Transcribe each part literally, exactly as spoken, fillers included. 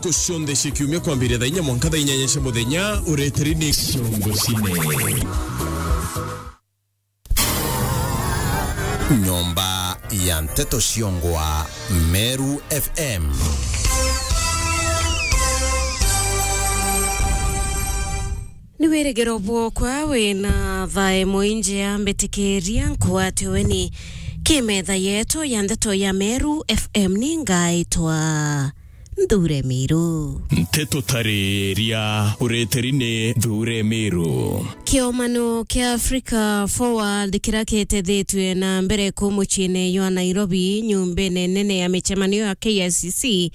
Ntuku cionthe cia kiumia kwambiria thaa inya mwanka thaa inyanya cia muthenya, ureteri ni Ciongo Cine. Nyomba ya nteto ciongwa Meru F M. Ni wirigiro bwokwa wina thae mwinjia, mbitikiria nkwatiwe ni kimetha yetu ya nteto ya Meru F M. Ni ngaitwa Nthure Miru. Nteto tariria ureteri ni Nthure Miru. Kiomano kia Africa Forward kiria kitethitue na mbere ku muciine jwa Nairobi, nyumbene nene ya micemanio ya K I C C,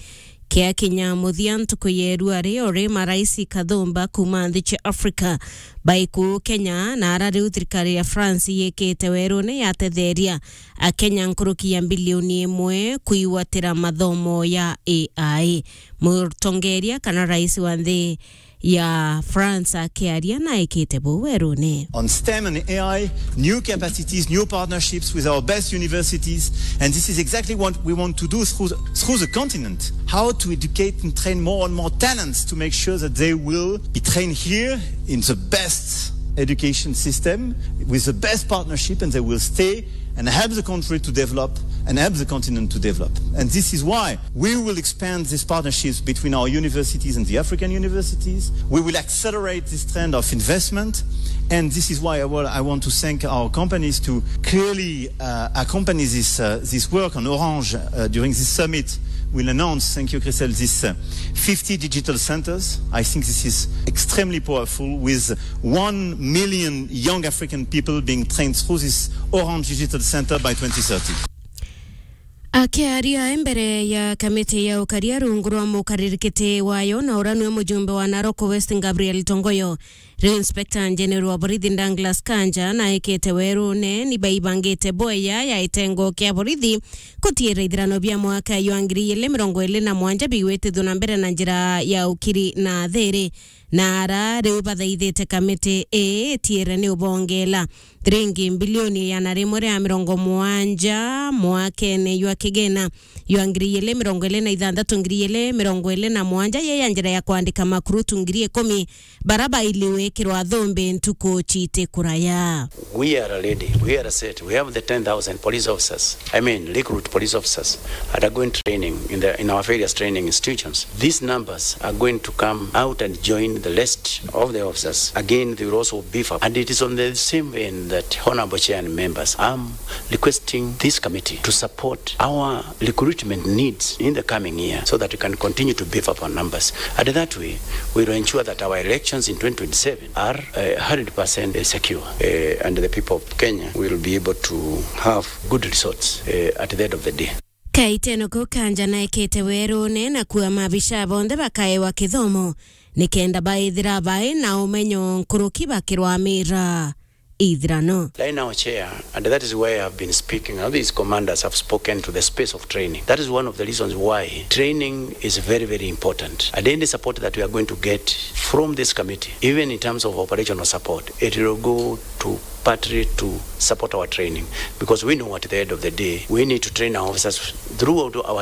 kiakinya muthia ntuku ya irua rio ri marais kathumba kuuma nthi cia Africa bai kuu Kenya, na ara riu thirikari ya France yikite werune yatetheria Akenya nkuruki ya mbilioni imwe kuigwatira mathomo ya A I. Mutongeria kana rais wa nthi ya France akiaria na ekite buu werune. On STEM and A I, new capacities, new partnerships with our best universities, and this is exactly what we want to do through the, through the continent. How to educate and train more and more talents to make sure that they will be trained here in the best education system with the best partnership, and they will stay and help the country to develop and help the continent to develop. And this is why we will expand these partnerships between our universities and the African universities. We will accelerate this trend of investment. And this is why I, wa- I want to thank our companies to clearly uh, accompany this, uh, this work on Orange uh, during this summit. We'll announce, thank you, Christelle, this uh, fifty digital centers. I think this is extremely powerful, with one million young African people being trained through this Orange Digital Center by twenty thirty. Akiaria mbere ya kamiti ya ukaria rungu rwa mukaririkiti wayo, na uria niwe mujumbe wa Narok West Gabriel Tongoyo, riu Inspector General wa borithi Douglas Kanja naikite werune ni baibangite boya ya itengo kia borithi kutiira ithirano bia mwaka jwa ngiri igiri mirongo iri na mwanja bigwitithua na mbere na njira ya ukiri na thiri. Na ara riu bathaithite kamiti ii itiire ni ubongela thiringi mbilioni igana rimwe ria mirongo mugwanja mwakene jwa kigina jwa ngiri igiri mirongo iri na ithanthatu, ngiri igiri mirongo iri na mugwanja, ye ya njira ya kwandika makurutu ngiri ikumi bara baili gwikirwa thumbi ntuku citi kuraya. We are ready. We are set. We have the ten thousand police officers. I mean, recruit police officers undergoing training in the, in our various training institutions. These numbers are going to come out and join the list of the officers. Again, they will also beef up. And it is on the same vein that, Honorable Chair and members, I'm requesting this committee to support our recruitment needs in the coming year so that we can continue to beef up our numbers. And that way, we will ensure that our elections in twenty twenty-seven are uh, hundred percent secure, uh, and the people of Kenya will be able to have good results uh, at the end of the day. Kaiteno kau Kanja naikite werune na kuuga maabisha bonthe bakaewa kithomo nikenda baithira bai na umenyo nkuruki bakirwamira ithirano. Right now, Chair, and that is why I've been speaking. Now, these commanders have spoken to the space of training. That is one of the reasons why training is very, very important. And any support that we are going to get from this committee, even in terms of operational support, it will go to partly to support our training, because we know at the end of the day, we need to train our officers throughout our